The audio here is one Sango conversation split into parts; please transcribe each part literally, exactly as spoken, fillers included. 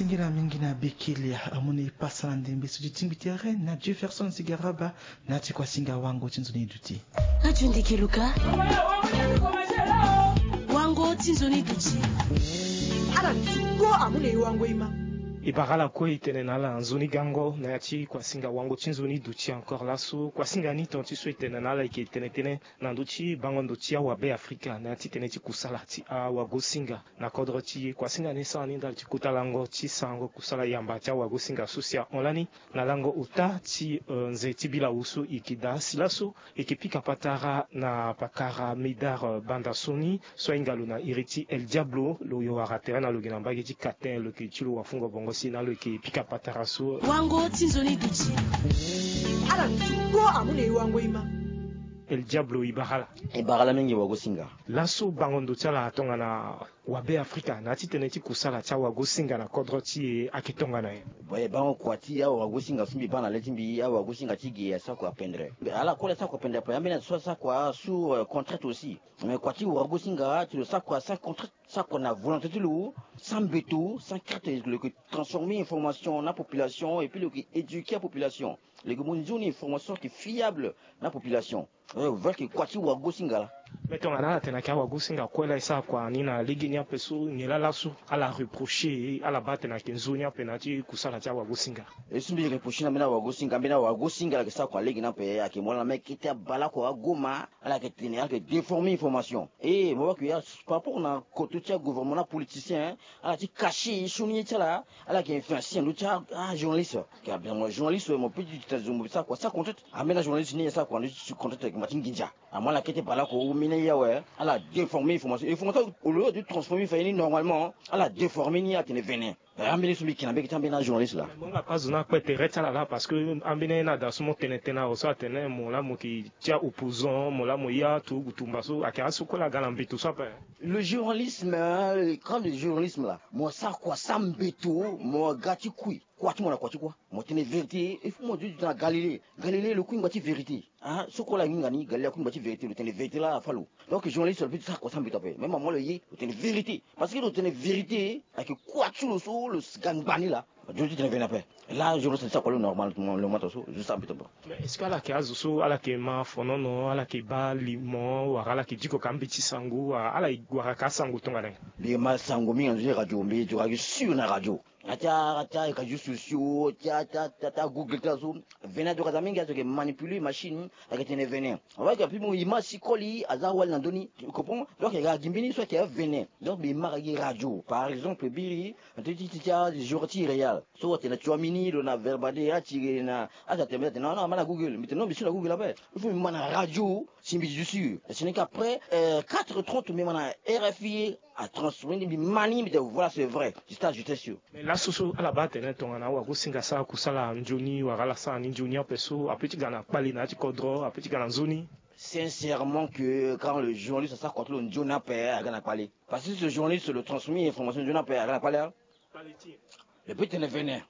Singila mingi na bekelia amoni pasa na ndembe so ti tingbi tere na Jefferson Sigaraba na ti kuasinga wango ti nzoni duti. Ajo ndeke luka. Wango ti nzoni duti. Ala ti kpo amoni e wango e ma. E bara ala kue e tene na ala nzoni gango na ya ti kuasinga wango ti nzoni duti encore laso. Kuasinga ni tonga ti so e tene na ala e yeke tene tënë na ndö ti bango ndo ti awabe Afrika na ya ti tënë ti kusala ti awagosinga na kodro ti e. Kuasinga ni sara ni ndali ti kota lango ti sarango kusala yamba ti awagosinga so si ahon lani na lango ota ti, eh, nze ti bilawu so e yeke daa si laso e yeke pika patara na pakara Médard, eh, Bandasoni so ahinga lo na iri ti El Diablo. Lo yo wara tere na lo gi na mbage ti katen lo yeke ti lo wafungo bongo si na lo yeke pika patara so. Wango ti nzoni duti. Ala ti kpo amoni e wango e ma. El Diablo, e bara ala. E bara ala mingi wagosinga. Laso bango ndo ti ala tongana wabe Afrika na ya ti tënë ti kusala ti awagosinga na kodro ti e ayeke tongana nyen? Bon, e bango kua ti awagosinga so mbi baa na le ti mbi, awagosinga ti ge asara kua pendre. Ala kue la sara kua pendre ape, ambeni azo so asara kua sous, euh, contrainte aussi. Mais kua ti wagosinga ti lo sara kua sans contrainte, sara kua na volonté ti lo, sans mbeto, sans crainte, lo yeke transformer information na population et puis lo yeke éduquer apopulation. Lo yeke mu nzoni information so yeke fiable na population. Eh, vrai que kua ti wagosinga la. Mais tongana ala tene ayeke awagosinga kue la e sara kua ni na lege ni ape so nyen laa laso ala reprocher e, ala baa atene ayeke nzoni ape na ya ti kusala ti awagosinga? E so mbi reprocher na ambeni awagosinga, ambeni awagosinga ala yeke sara kua lege ni ape, ayeke mu ala na mê kete abale oko agoma, ala yeke tene, ala yeke déformer information. E mo baa que ya par rapport na koto ti agouvernement na apoliticien, ala ti cacher sioni ye ti ala, ala yeke influencer na ndö ti a, ajournaliste. Ke abia mo journaliste, mo peut ti tene zo mo sara kua sans contrainte. Ambeni ajournaliste ni e sara kua na ndö ti contrainte ayeke ma ti nginza. Amu ala kete bale oko ou mê ni awe, ala déformer information. Information au lieu de transformer fade ni normalement, ala déformer ni atene vene. Eh, ambeni so mbi yeke na mbage ti ambeni ajournaliste la. Mo nga pa zo ni akpe tere ti ala la parce que ambeni aye ni ada so mo tene tënë awe so atene mo laa mo yeke ti aopposant, mo laa mo ya turugu tumba so ayeke azo so kue la aga na mbeto so ape. Le journalisme, hein, le grand journalisme la, mo sara kua sans mbeto, mo ga ti kui. Kua ti mo na kua ti kua. Mo tene vérité, il faut mo duti na Galilée. Galilée lo kui ngba ti vérité. Ah, so kue la hinga ni, Galilée akui ngba ti vérité, lo tene vérité la afa lo. Donc journaliste lo peut ti sara kua sans mbeto ape. Même amu lo ye, lo tene vérité. Parce que lo tene vérité, ayeke kua ti lo so lo ga ngba ni la. Azo ti tene vene ape. Là, je ressens ça, quoi, le normal, le, le matin, so, je sens un peu. Mais est-ce que ala yeke azo so ala yeke ma fonono, ala yeke baa limo, wala ala yeke diko ka mbeti sango, wala ala wara ka sango tongana nyen? Mbi ma sango mingi na ndö ti radio, mbi zo ka gi sûr na radio. Atia, atia, réseaux sociaux, tia, tia, tia, tia, Google, tia so. Vene azo ka za mingi, azo yeke manipuler machine, ayeke tene vene. Awa yeke api mo image ti koli, aza wali na ndö ni, tu comprends? Donc, ayeke gi mbeni so ayeke avene. Donc, mbi ma ka gi radio. Par exemple, biri, ti, ti, ti, tia, jour ti Real. So atene na Tchouaméni, lo na Verbadé, atiri na, azo atene, non, non, ma na Google. Mbi tene, non, mbi su na Google ape. Il faut mbi ma na radio, si mbi zo sûr. Ce n'est qu'après, euh, quatre heures trente, mbi ma na R F I, a transformer ni, mbi ma ni, mbi tene, voilà, c'est vrai. C'est ça, j'étais sûr. Mais laso so, ala baa atene tongana awagosinga asara kusala nzoni, wala ala sara ni nzoni ape so, ape ti ga na kpale na ya ti kodro, ape ti ga na nzoni. Sincèrement que quand le journaliste asara kua ti lo nzoni ape, aga na kpale. Parce que ce journaliste, lo transformer information nzoni ape, aga na kpale, hein. Le peut tene vene.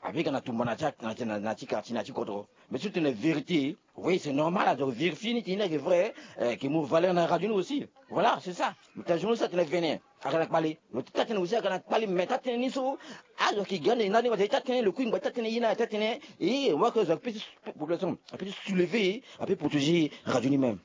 Ape ga na tumba na ti, na ti, na, na ti quartier, na ti kodro. Mais si lo tene vérité, oui, c'est normal, donc vérifier ni ti ni ayeke vrai, euh, ayeke mu valeur na radio ni aussi. Voilà, c'est ça. Mais ta journaliste atene vene, aga na kpale. Mais ta tene aussi aga na kpale, mais ta tene ni so, azo ayeke ga na e na ni, ta tene lo kui ngba, ta tene ye na, ta tene, e, wa ke zo ape ti population, ape ti soulever, ape protéger radio ni même.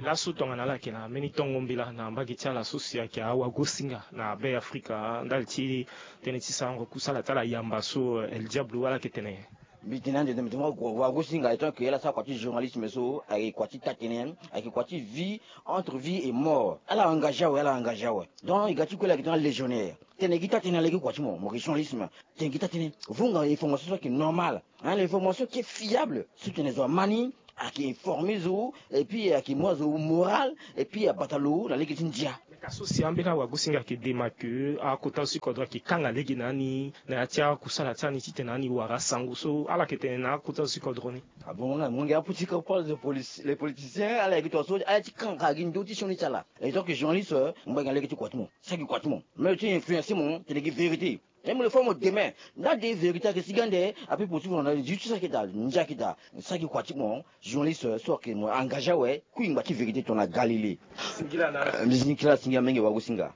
Laso tongana ala yeke na mbeni tongo mbela na mbage ti ala so si ayeke awagosinga na Be Afrika ndali ti tënë ti sarango kusala ti ala yamba so, eh, El Diablo, ala yeke tene nyen? Mbi tene ande, mbi tene wa, wa, wagosinga étant que ala sara kua ti journalisme so, ayeke kua ti taa-tënë, ayeke kua ti vie, entre vie et mort. Ala engagé awe, ala engagé awe. Donc e ga ti kue la ayeke tena légionnaire. Tene gi taa-tënë na lege kua ti mo, mo yeke journalisme. Tene gi taa-tënë. Vunga information so ayeke normal. Hein, l'information qui est fiable. So tene zo ama ni, ayeke informer zo, et puis ayeke mu azo moral, et puis abata lo na lege ti ndia. Ka so si ambeni awagosinga ayeke dema ke akota zo ti kodro ayeke kanga lege na ni na ya ti akusala ti ani titene ani wara sango so ala yeke tene na akota zo ti kodro ni. Ah bon, nga, mo ngia aputi ka parle de police, les politiciens, ala yeke tongaso, ala ti kanga gi ndö ti sioni ti ala. Et donc journaliste, euh, mo baa gi na lege ti kua ti mo, sara gi kua ti mo. Mais lo ti influencer mo, tene gi vérité. Même le fois mo demain, nda de vérité ayeke sigi ande, ape possible na justice ayeke daa, ndia ayeke daa, sara gi kua ti mo, journaliste, euh, so ayeke mo engagé awe, kui ngba ti vérité tongana Galilée. Singila na. Euh, mbi singila, singila mingi wagosinga.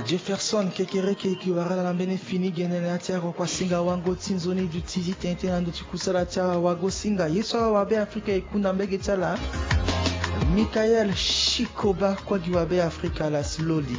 Jefferson Kekereke, e gi wara ala na mbeni fini gene na ya ti awakuasinga wango ti nzoni duti ti tene tënë na ndö ti kusala ti awagosinga ye so awabe afrika e ku na mbege ti ala. Michael Shikoba kue gi wabe afrika ala si loli.